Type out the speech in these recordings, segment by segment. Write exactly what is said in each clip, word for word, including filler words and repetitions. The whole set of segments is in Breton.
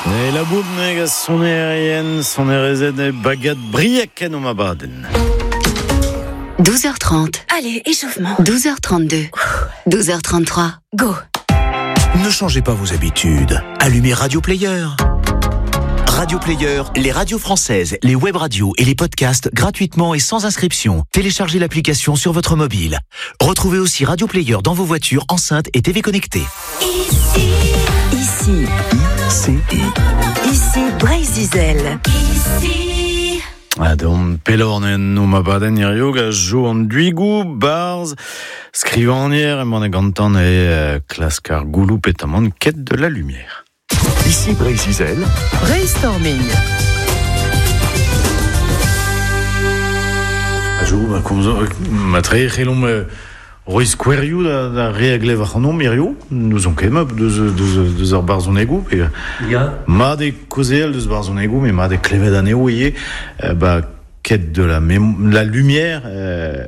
E la boubneg a sonerien, sonerezet e bagad briek en o mabaden. douze heures trente. Allez, échauffement. douze heures trente-deux. douze heures trente-trois. Go. Ne changez pas vos habitudes. Allumez Radio Player. Radio Player, les radios françaises, les web radios et les podcasts gratuitement et sans inscription. Téléchargez l'application sur votre mobile. Retrouvez aussi Radio Player dans vos voitures, enceintes et T V connectées. Ici, ici, I C I. Ici Breizh Izel. Ici. Ah, donc, pelorn en o mabaden hirio ga jo an duigou, barz, skrivanier, emañ e gantan e euh, klask ar goulou petamant quête de la lumière. Ici Breizh Izel. Brainstorming. A jo, ba, komzo, ma tre c'hellomp, euh, roiz kouerioù da, da re a glev ac'hanomp hirio, nous on ket mab deus, deus, deus ar barzhonegou, pe Ya. mat e kaozeal deus barzhonegou, mais mat e klevet anezho ivez, euh, ba, quête de la mémo-, la lumière, euh,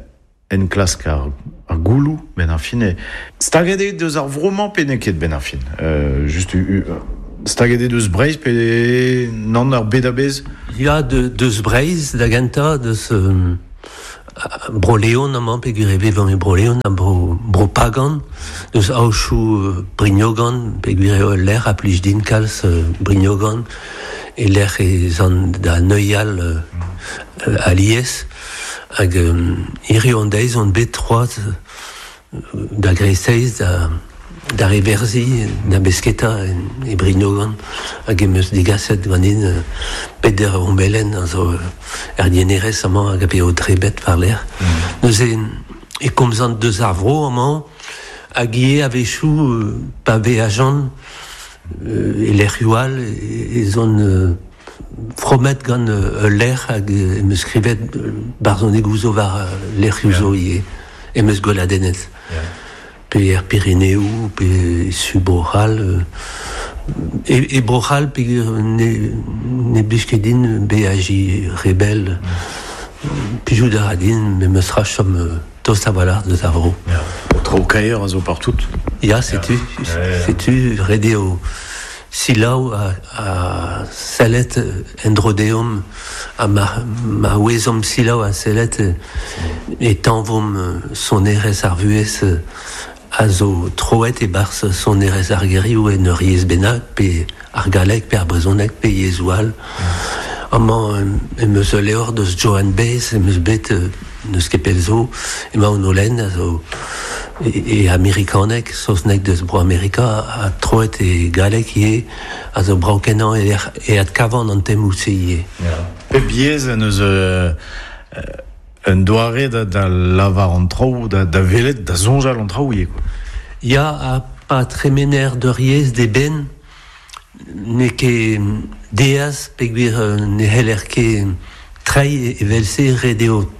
en klask ar, ar goulou, ben ar fin, e staget eo deus ar vro-mañ pe n'eo ket ben ar fin. Euh, just u, u, staget eo deus Breizh pe nann ar bed a-bezh? Ya, de, deus Breizh, da gentañ, deus, euh, bro Leon amañ, peogwir e vevan e bro Leon, ha bro, bro Pagan, deus aochou, euh, Brignogan, peogwir eo lec'h a plij din kalz, euh, Brignogan, e lec'h e zan da Neuial, euh, euh, alies, hag, euh, hirio an deiz on bet troaz, euh, da Greseiz, da, da Reverzi, da Besketa, en, e Brignogan, hag em eus digaset ganin, euh, peder ombelen, a zo, euh, er dienerez amañ hag a pe o drebet war l'air. Mm. Neuze, e komzan deus ar vro amañ, hag ivez a-wechoù, euh, pa vez ajan, euh, e lec'hioù all, e, e zon, euh, fromet gant, euh, ul lec'h hag, euh, em eus skrivet, euh, barzhonegoù zo war, euh, lec'hioù zo Yeah. ivez, em eus gweladennet. Yeah. Pe er Pireneoù, pe su Bro-C'hall, euh, e, e Bro-C'hall, pe ne, ne blij ket din beajiñ rebel. Mm. Plijout a ra din, me meus ra chom, euh, tost a-walc'h deus ar vro. Ya. O traoù kaer a zo partout. Ya, setu, Ya. Ya, ya. setu, ret eo selaou a, a sellet endrodeomp, ha ma, ma ouezomp selaou a sellet, e tañvomp sonerezh ar vuhez a zo troet e-barzh sonerezh ar gerioù en ur yezh bennak, pe ar galleg, pe ar brezhoneg, pe yezhoù all. Amañ, em eus ul levr deus Joan Baez, em eus bet, euh, neus ket pell zo, emañ on o lenn, a zo e, e amerikaneg, saozneg deus bro Amerika, a troet e galleg ivez, a zo brav-kenañ e lec'h, e adkavan an temoù-se ivez. Ya. Pep yezh en eus, euh, euh, un doare da, da lavar an traoù, da, da welet, da soñjal an traoù ivez, quoi. Ya, ha pa tremener d'ur yezh d'eben, n'eo ket deaz, peogwir, euh, ne c'heller ket treiñ evel-se, ret eo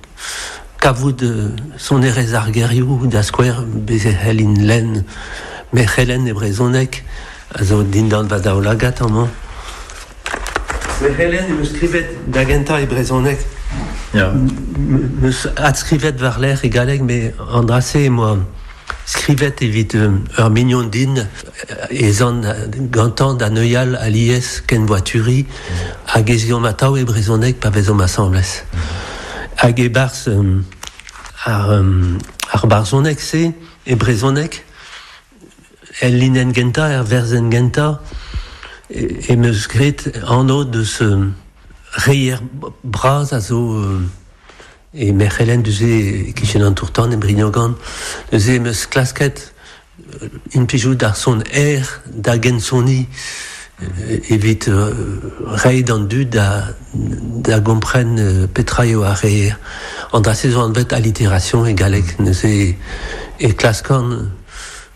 kavout, euh, sonerezh ar gerioù, da skouer, bez e c'hellin lenn merc'helen e brezhoneg, a zo dindan va daoulagad amañ. Merc'helen em eus skrivet da gentañ e brezhoneg. Ya. M-, meus adskrivet war-lerc'h e galleg, met an dra-se em boa skrivet evit, euh, ur mignon din, e zan gantañ da Neuial alies ken voituri, hag ez eomp atav e brezhoneg pa vezomp asambles. Hag e-barzh, euh, ar, euh, ar barzhoneg-se, e brezhoneg, el linenn gentañ, er werzenn gentañ, e, em eus graet anv deus, euh, reier bras a zo, euh, e merc'helen duze e kichen an tourtan e Brignogan, neuze em eus klasket, euh, implijout ar son aer da gensoni, euh, evit, euh, reiñ d'an dud da, da gompren, euh, petra eo ar reier. An dra-se zo anvet allitération e galleg, neuze e klaskan,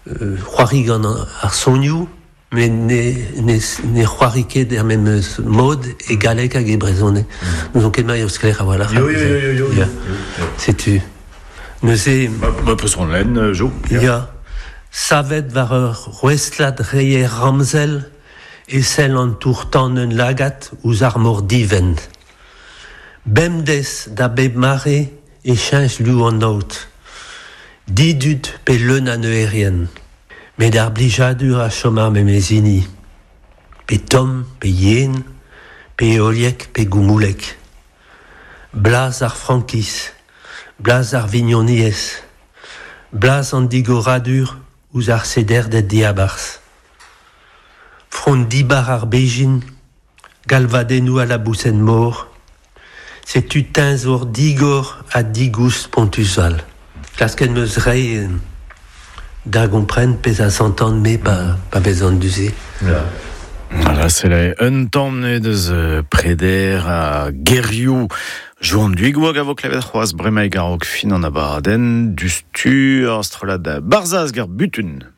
euh, c'hoari gant ar sonioù, met ne, ne, ne c'hoari ket er memes mod e galleg hag e brezhoneg. Mm. Nous on ket mailh o sklaer a-walc'h. Yo, yo, yo, yo, yo, Ya. yo, yo. Setu. Neuze... Ba, ba, peus on lenn, euh, Jo. Ya. Ya. Savet war ur rouestlad reier ramzel e sell an tourtan un lagad ouzh ar mor divent. Bemdez da bep mare e cheñch lu an aod. Didud pe leun a neuerien. Met ar blijadur a chom ar memezini. pe tomm, pe yen, pe eoliek, pe goumoulek. Blaz ar frankiz, blaz ar vignoniez, blaz an digoradur ouzh ar sederdet diabarzh. Front dibar ar bejin, galvadennoù a la bousen mor, setu teñzor digor ha digoust pontusal. Klasket meus rei da gompren pezh a santan me pa, pa vezan du-se. Yeah. Voilà, c'est la un tamm deus preder a gerioù Joan Duigoag a vo klevet c'hoazh bremaik a-raok fin an abadenn du stur ar strollad Barzaz gar butun.